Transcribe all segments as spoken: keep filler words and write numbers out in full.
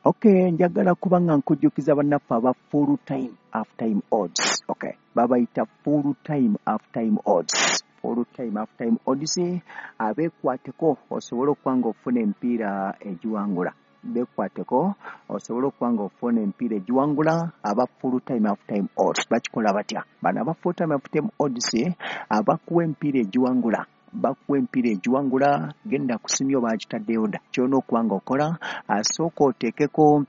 Okay, njagala kuba nga nkujjukiza bannaffe aba full time half time odds. Okay, babayita full time half time odds, full time half time odds. Abeekwateko osobole okuba nga ofuna emipiira egiwangula. Beekwateko osobole okuba nga ofuna emipiira egiwangula. Aba full time half time odds bakikola batya? Bano aba full time half time odds abakuwa emipiira egiwangula, bakuwa emipiira egiwangula. Genda kusimyo, bakitaddeyo dda. Kyolina okuba nga okola, asooka oteekeko,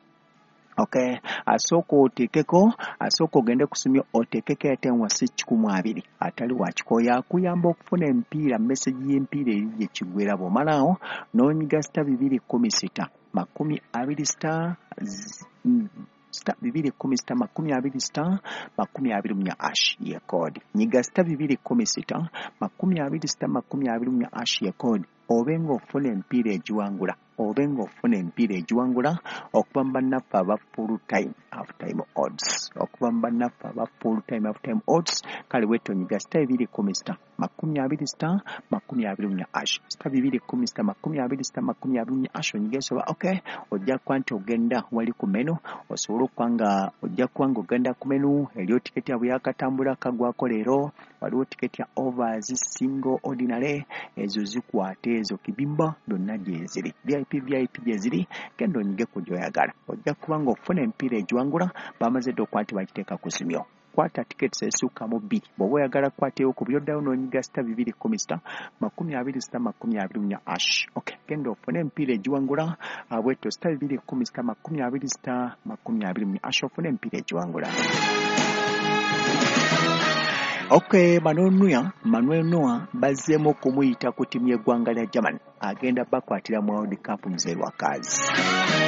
okay, asooka oteekeko, asooka ogende kusimyo oteekeko airtime wa si kikumu abiri atali wakikooya akuyamba okufuna emipiira. Message y'empiira eri gye kiggwera, bw'omalaawo n'onyiga star bibiri kkumi sita makumi abiri star star bibiri kkumi sita makumi abiri star makumi abiri mu nnya hash ye code. Nyiga star bibiri kkumi sita makumi abiri star makumi abiri mu nnya hash ye code, obe ng'ofuna emipiira egiwangula, obe ng'ofuna emipiira egiwangula okuva mu bannaffe aba full time half time odds, okuva mu bannaffe aba full time half time odds. Kale bwetyo nyiga star bibiri kkumi sita makumi abiri star makumi abiri mu nnya hash, star bibiri kkumi sita makumi abiri star makumi abiri mu nnya hash. Onyiga esoba, okay, ojja kuba nti ogenda wali ku menu, osobole okuba nga ojja kuba nga ogenda ku menu eriyo tiketi yabwe yakatambula kagwako leero. Waliwo tiketi ya overs, single, ordinary, ezo zikwate, ezo kibimba byonna gyeziri, V I P, V I P gyeziri. Genda onyige ku gyoyagala, ojja kuba nga ofuna emipiira egiwangula. Bamaze dde okuba nti bagiteeka ku simyo. Kwata tickets esukka mu bbiri bw'oba oyagala kukwatayo ku byoddayo n'onyiga star bibiri kkumi sita makumi abiri star makumi abiri mu nnya hash. Okay, genda ofune emipiira egiwangula bwetyo, star bibiri kkumi sita makumi abiri star makumi abiri mu nnya hash, ofune emipiira egiwangula. Okay, Manuel Neuer, Manuel Neuer bazzeemu okumuyita ku ttiimu y'eggwanga lya Germany, agenda bakwatira mu World Cup. Mzee Lwakazi.